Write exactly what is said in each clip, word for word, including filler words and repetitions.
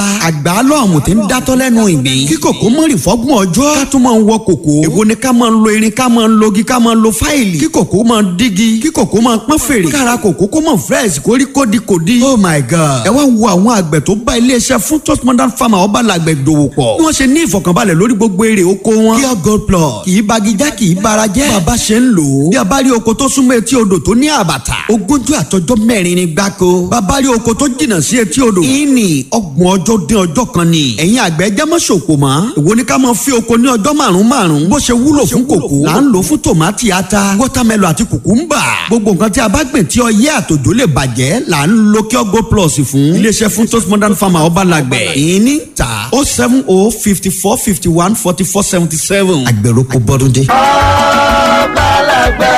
Àgbà lọ́ọ̀mù tí ń dátọ́ lẹ́nu ìgbín. Kí kòkó mọ̀rì fọ́gbọ̀n ọjọ́. Ká tún máa ń wọ kòkó. Èwo ni ká máa ń lo irin, ká máa ń logi, ká máa ń lo fáìlì? Kí kòkó máa ń dígi, kí kòkó máa ń pọ́n fèrè. Kára kòkó kó mọ̀ fresh, kórí kódi kòdi. Oh my God! Ẹ wá wo àwọn àgbẹ̀ tó bá iléeṣẹ́ fún Toast Modern Farmer ọba làgbẹ̀ dòwò pọ̀. Bí wọ́n ṣe ní ìfọ̀kànbalẹ̀ lórí gbogbo èrè oko wọn. Pure Gold Plus kì í bagijá, kì í bara jẹ́. Bàbá ṣe ń lò ó. Bí a bá rí oko tó súnmọ́ etí odò tó ní àbàtà, ogójì àtọjọ́ mẹ́rin ni gbáko. Bàbá rí oko tó jìnnà sí etí odò, ìní ọgbọ̀n ọjọ́ dín ọjọ́ kan ni. Ẹ̀yin àgbẹ̀, jẹ́ mọ́ ṣòkò mọ́. Èwo ni ká máa fi oko ní ọjọ́ márùn-ún márùn-ún? Bó ṣe wúlò fún kòkó là ń lò fún tòmátì, ata, watermelon àti cucumber. Gbogbo nǹkan tí a bá gbìn tí ọyẹ́ àtòjò lè bàjẹ́ là ń lo Pure Gold Plus fún. Iléeṣẹ́ fún Toast Modern Farmer ọba làgbẹ̀. Ìní ta oh seven oh fifty four fifty one forty four seventy seven. Àgbẹ̀rò kò bọ́dún dé. Ọba làgbẹ̀,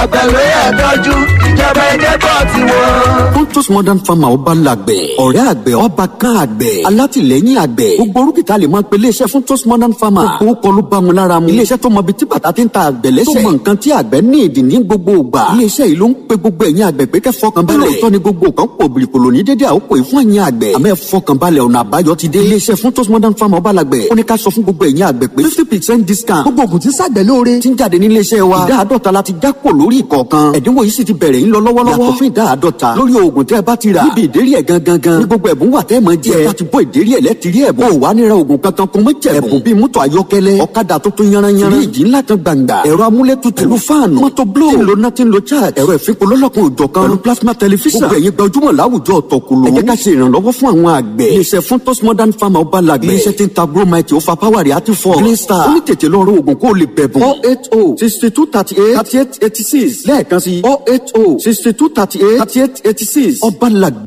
àgbẹ̀ ló yẹ tọ́jú, ìjọba ẹ̀jẹ̀ bọ̀ ti wọ́n. Pontus Modern Farmer ọba làgbẹ̀, ọ̀rẹ́ àgbẹ̀, ọba kan àgbẹ̀, alátìlẹ́yìn àgbẹ̀. Gbogbo orúkìtà lè máa pe iléeṣẹ́ fún Toast Modern Farmer. Gbogbo kọlu bá wọn lára mu. Iléeṣẹ́ tó mọ ibi tí bàtà ti ń ta àgbẹ̀ lẹ́sẹ̀, tó mọ nǹkan tí àgbẹ̀ ní ìdí ní gbogbo ìgbà. Iléeṣẹ́ yìí ló ń pe gbogbo ẹ̀yin àgbẹ̀ pé kẹ́ fọkàn balẹ̀. Lóòótọ́ ni gbogbo kan pò bìrìkòlò ní dédé àkókò yìí fún ẹ̀yin àgbẹ̀. Àmọ́ ẹ fọkàn balẹ̀, ọ̀nà àbáyọ ti dé. Iléeṣẹ́ fún Toast Modern Farmer ọba làgbẹ̀ ó ní ká sọ fún gbogbo ẹ̀yin àgbẹ̀ pé fifty percent discount gbogbo ògùn tí ṣàgbẹ̀ lóore ti ń jáde ní iléeṣẹ́ wa. Ìdá àádọ́ta la ti já kò lórí ìkọ̀ọ̀kan. Ẹ̀dínwó yìí sì ti bẹ̀rẹ̀ ń lọ lọ́wọ́lọ́wọ́. Yàtọ̀ fún ìdá àádọ́ta lórí oògùn tẹ́ ẹ bá ti rà. Níbi ìdérí ẹ̀ gangan gan ní gbogbo ẹ̀bùn wà tẹ́ ẹ máa jẹ. Ẹ bá ti bọ́ ìdérí ẹ̀ lẹ́tìrí ẹ̀bùn. Ó wà níra oògùn kankan kún mọ́ jẹ̀bùn. Ẹ̀bùn bíi mọ́tò ayọ́kẹ́lẹ́, ọ̀kadà tuntun yanranyanran, fíríjì ńlá kan gbàǹgbà, ẹ̀rọ amúlétutù pẹ̀lú fáànù, mọ́tò blow tí ń lo nothing lo charge, ẹ̀rọ ìfipò lọ́lọ́kan òjọ̀kan pẹ̀lú plasma tẹlifíṣàn. Gbogbo ẹ̀yin gbajúmọ̀ láwùjọ ọ̀tọ̀kùlù, ẹ jẹ́ ká ṣe ìrànlọ́wọ́ fún àwọn àgbẹ̀. Iléeṣẹ́ fún Toast Modern Farmer ọba làgbẹ̀. Iléeṣẹ́ tí ń ta Gromite, ó fa power àti fọ́ Green Star. Ó ní tètè lọ rọ oògùn kó o lè bẹ̀bùn. oh eight oh sixty two thirty eight thirty eight eighty six lẹ́ẹ̀kan sí oh eight oh sixty two thirty eight thirty eight eighty six ọba làgbẹ̀.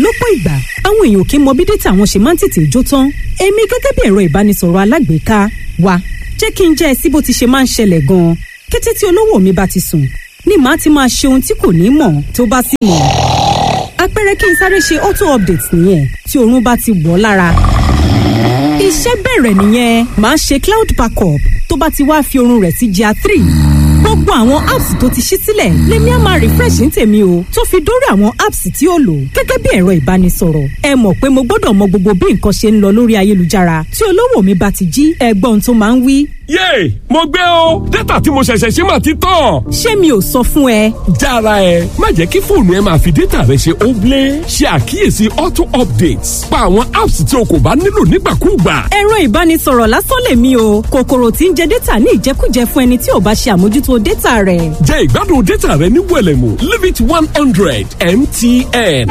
Lọ́pọ̀ ìgbà, àwọn èèyàn kì í mọ bí data àwọn ṣe máa ń tètè jó tán. Èmi gẹ́gẹ́ bí ẹ̀rọ ìbánisọ̀rọ̀ alágbèéká wa, jẹ́ kí n jẹ́ ẹ sí bó ti ṣe máa ń ṣẹlẹ̀ gan-an. Kété tí olówó mi bá ti sùn ni màá ti máa ṣe ohun tí kò ní mọ̀ tó bá sì mọ̀. Àpẹẹrẹ, kí n sáré ṣe auto update nìyẹn. Tí oorun bá ti wọ̀ lára, iṣẹ́ bẹ̀rẹ̀ nìyẹn. Màá ṣe cloud backup. Tó bá ti wá fi oorun rẹ̀ sí G R three, gbogbo àwọn apps tó ti ṣí sílẹ̀ lèmi á máa refresh ní tèmi o, tó fi dórí àwọn apps tí ó lò gẹ́gẹ́ bí ẹ̀rọ ìbánisọ̀rọ̀. Ẹ mọ̀ pé mo gbọ́dọ̀ mọ gbogbo bí nǹkan ṣe ń lọ lórí ayélujára. Tí olówó mi bá ti jí, ẹgbọ́n tó máa ń wí: "Yéè, mo gbé o, data tí mo ṣẹ̀ṣẹ̀ ṣe mà ti tán." "Ṣé mi ò sọ fún ẹ?" Jára ẹ, má jẹ́ kí fóònù ẹ máa fi data rẹ ṣe óblé. Ṣe àkíyèsí auto updates, pa àwọn apps tí o kò bá nílò nígbàkúùgbà. Ẹ̀rọ ìbánisọ̀rọ̀ lásán lèmi o, kòkòrò tí ń jẹ data ní ìjẹkújẹ fún ẹni tí ò bá ṣe àmójútó data rẹ̀. Jẹ ìgbádùn data rẹ ní wẹ̀lẹ̀mú. Limit one hundred M T N.